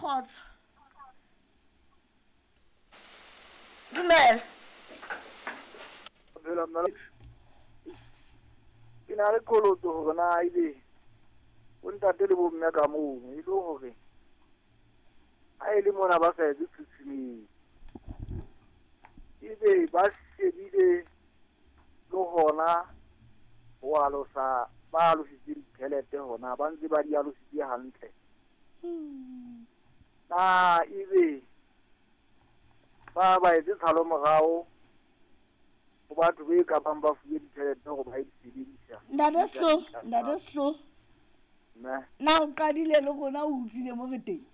Kgotso. Dumela. Ke na le qholotso hore na ebe bontate le bomme ka moo e le hore ha e le mona ba sa etse tshutshumetso, ebe ba shebile le hona ho alosa, ba alositse ditjhelete hona ba ntse ba di alositse hantle. Na ebe ba ba etse tshalo morao ho batho be ka bang ba fuwe ditjhelete hore ba e sebedisa. Ntate Sehloho, Ntate Sehloho. Mme. Na o qadile le rona o utlwile mo re teng?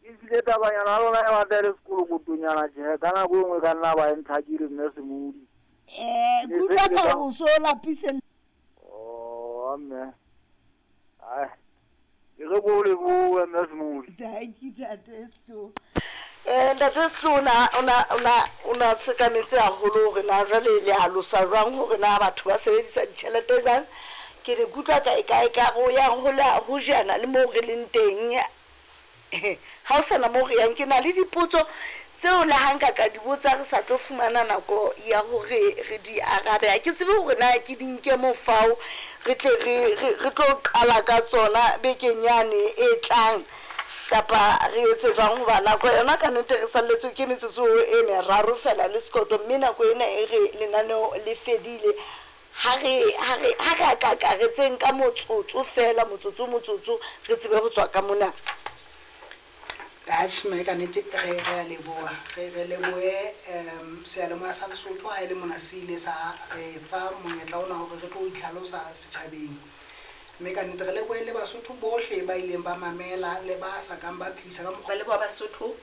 Ebile tabanyana ya lona e batla e le sekolokotonyana tjhe, ka nako e nngwe ka nna ba e ntlhakile mme Semodi. Ke utlwa ka hore o so lapise. Oh, mme. Ai. Ke re ko lebohe mme Semodi. Dankie Ntate Sehloho. Ntate Sehloho o na sekametse haholo hore na jwale le alosa jwang hore na batho ba sebedisa ditjhelete jwang. Ke ne ke utlwa kae kae ka re o yang ho jana le moo re leng teng. Ha o sana moo re yang, ke na le dipotso tseo le ha nka ka di botsa re sa tlo fumana nako ya hore re di arabe. Ha ke tsebe hore na ke di nke mofao re tle re tlo qala ka tsona bekeng yane e tlang, kapa re etse jwang, hoba nako yona ka nnete re salletswe ke metsotso e meraro fela le sekoto, mme nako ena e re lenaneo le fedile. Ha re akaretseng ka motsotso fela, motsotso motsotso re tsebe ho tswa ka mona. Atjhe mme ka nnete re a leboha, re lebohe seyalemoya sa Lesotho ha e le mona se ile sa re fa monyetla ona hore re tlo itlhalosa setjhabeng. Mme ka nnete re lebohe le Basotho bohle ba ileng ba mamela le ba sa kang ba phehisa ka mokgwa. Ba leboha Basotho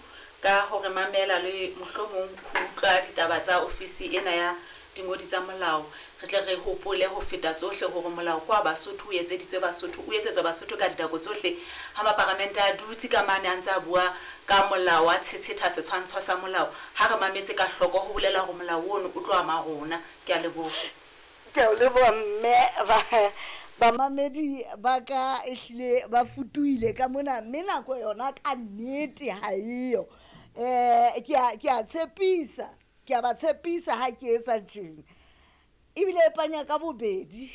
ka hore mamela le mohlomong ho utlwa ditaba tsa ofisi ena ya dingodi tsa molao. Re tle re hopole ho feta tsohle hore molao kwa Basotho o etseditswe Basotho, o etsetswa Basotho ka dinako tsohle. Ha maparamente a dutse ka mane a ntse a bua ka molao, a tshetsheta setshwantsho sa molao, ha re mametse ka hloko ho bolela hore molao ono o tlo ama rona. Ke a leboha. Ke a leboha mme. Bamamedi ba ka ehlile ba futuhile ka mona, mme nako yona ka nnete ha eyo. Ke a tshepisa, ke a ba tshepisa ha ke etsa tjena. Ebile e panya ka bobedi,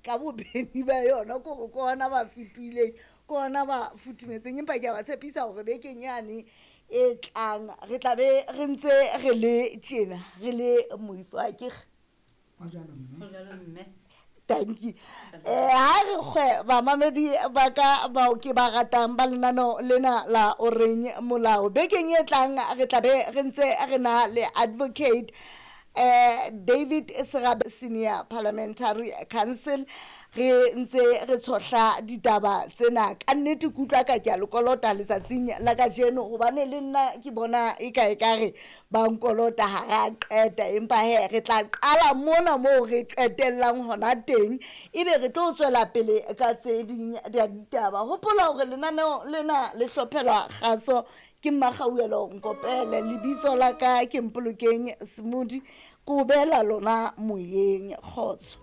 ka bobedi ba yona, ke hore ke hona ba fetuhileng, ke hona ba futhumetseng. Empa ke a ba tshepisa hore bekeng yane e tlang re tla be re ntse re le tjena, re le moifo. Ha ke re? Ho jwalo mme. Ho jwalo mme. Thank you. Ha re kgwe bamamedi ba ka bao ke ba ratang ba lenaneo lena la Oreng Molao. Bekeng e tlang re tla be re ntse re na le Advocate David Serabe, Senior Parliamentary Counsel. Re ntse re tshohla ditaba tsena. Ka nnete ke utlwa ka ke a le kolota letsatsing la kajeno, hobane le nna ke bona e ka ekare ba nkolota ha re a qeta, empa he re tla qala mona moo re qetellang hona teng, ebe re tlo tswela pele ka tse ding di ditaba. Hopola hore lenaneo lena le hlophelwa kgaso ke Mmakgauelo Nkopele, lebitso la ka ke Mpolokeng Semodi, ke o beela lona moyeng. Kgotso.